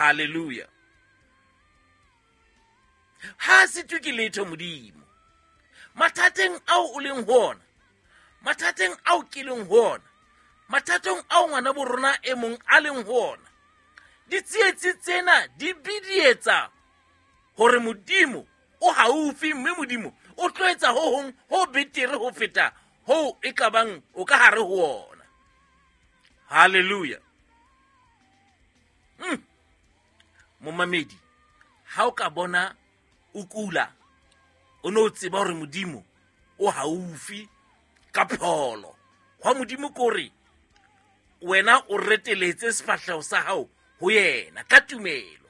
Halleluja. Ha sitwe ke letho Modimo. Mathateng ao o leng ho ona, mathateng ao ke leng ho ona, mathateng ao ngwana bo rona e mong a leng ho ona, ditsietsi tsena di bidietsa hore Modimo o haufi, mme Modimo o tlo etsa ho hong ho betere ho feta hoo e ka bang o ka hare ho ona. Halleluja. Momamedi, ha o ka bona o kula, o ne o tseba hore Modimo o haufi ka pholo. Hwa Modimo ke hore wena o reteletse sefahleho sa hao ho yena ka tumelo.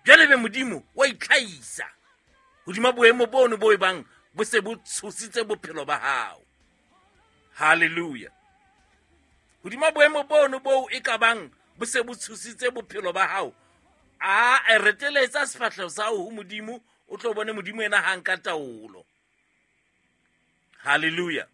Jwale be Modimo wa itlhahisa hodima boemo bono bo e bang bo se bo tshositse bophelo ba hao. Halleluja. Hodima boemo bono boo e ka bang bo se bo tshositse bophelo ba hao, a e reteletsa sefahleho sa hao ho Modimo, o tlo bone Modimo ena ha nka taolo. Halleluja.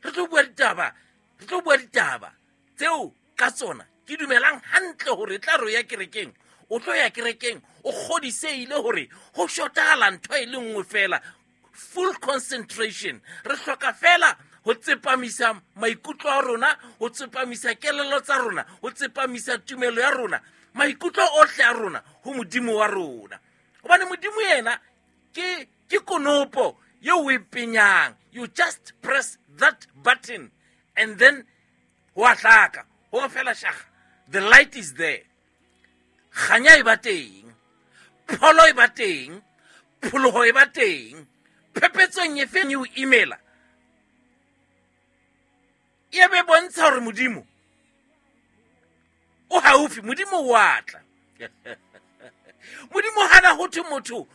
Re tlo bua ditaba, re tlo bua ditaba tseo ka tsona ke dumelang hantle hore tla re ya kerekeng, o tlo ya kerekeng o kgodiseile hore ho shotahala ntho e le nngwe fela, full concentration. Re hloka fela ho tsepamisa maikutlo a rona, ho tsepamisa kelello tsa rona, ho tsepamisa tumelo ya rona, maikutlo ohle a rona ho Modimo wa rona. Hobane Modimo yena ke konopo eo o e penyang. You just press that button and then ho a hlaka, ho fela shaga, the light is there. Kganya e ba teng, pholo e ba teng, pholoho e ba teng. Phepetsong e feng e o imela, e be bontsha hore Modimo o haufi, Modimo o a tla. Modimo hana ho thwe motho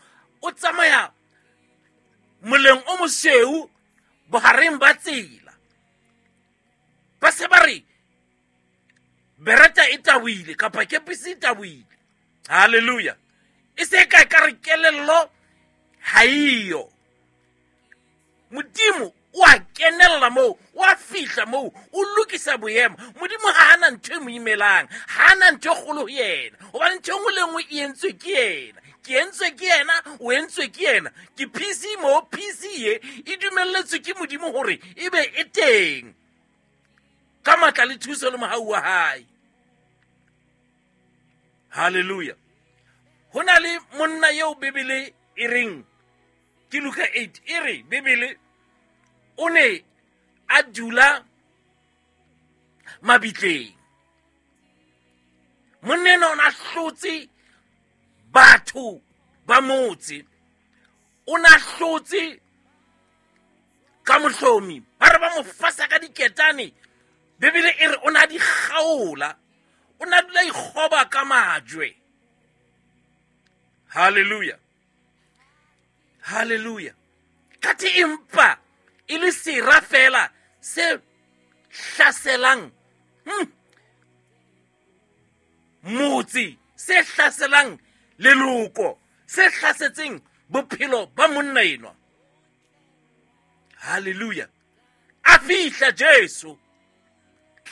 o tsamaya moleng o mosweu bohareng ba tsela, ba se ba re bereta e taboile kapa kepisi e taboile. Halleluja. E se ka ka re kelello ha eyo. Modimo o a kenella moo, o a fihla moo, o lokisa boemo. Modimo ha ana ntho e mo imelang, ha ana ntho e kgolo ho yena, hobane ntho e nngwe le nngwe e entswe ke yena. Ke entswe ke yena, o entswe ke yena. Ke PC mo, PC ye e dumelletswe ke Modimo hore e be e teng ka matla le thuso le mohau wa hae. Halleluja. Ho na le monna eo Bibele e reng ke Luka 8, e re Bibele o ne a dula mabitleng. Monna enwa o ne a hlotse batho ba motse, o ne a hlotse ka mohlomi, ba re ba mo fasa ka diketane. Bibele e re o ne a di kgaola, o ne a dula ikgoba ka majwe. Halleluja. Halleluja. Kathe empa e le sera fela se hlaselang motse, se hlaselang leloko, se hlasetseng bophelo ba monna enwa. Halleluja. A fihla Jesu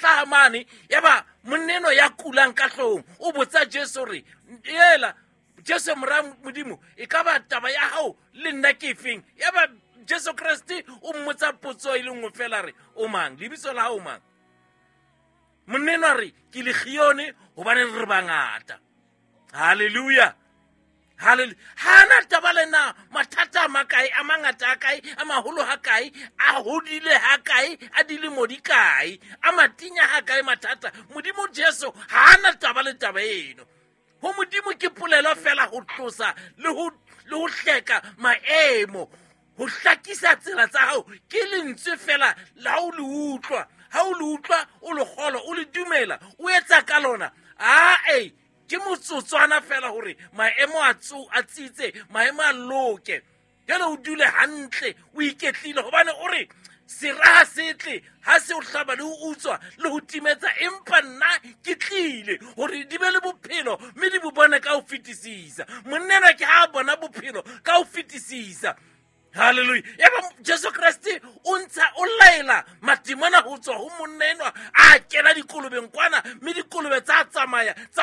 hlaha mane, yaba monna enwa ya kulang ka hloohong o botsa Jesu hore, ela Jesu mora Modimo, e ka ba taba ya hao le nna ke efeng? Yaba Jesu Kreste o mmotsa potso e le nngwe fela, re o mang, lebitso la hao mang? Monna enwa re ke Legione hobane re bangata. Halleluja. Halleluja. Ha ana taba le na mathata a makae, a mangata a kae, a maholo ha kae, a hodile ha kae, a dilemo di kae, a matinya ha kae mathata. Modimo Jesu ha ana taba le taba eno. Ho Modimo ke polelo fela ho tlosa le ho hleka maemo, ho hlakisa tsela tsa hao. Ke lentswe fela la o le utlwa, ha o le utlwa o le kgolwa, o le dumela, o etsa ka lona. Ae, ke motsotswana fela hore maemo a a tsitse, maemo a loke. Jwale o dule hantle, o iketlile, hobane o re sera ha se tle, ha se o hlaba le ho utswa le ho timetsa, empa nna ke tlile hore di be le bophelo mme di bo bone ka ho fetisisa. Monna enwa ke ha a bona bophelo ka ho fetisisa. Halleluja. Yaba Jesu Kreste o ntsha, o laela matimona ho tswa ho monna enwa, a kena dikolobeng kwana, mme dikolobe tsa tsamaya tsa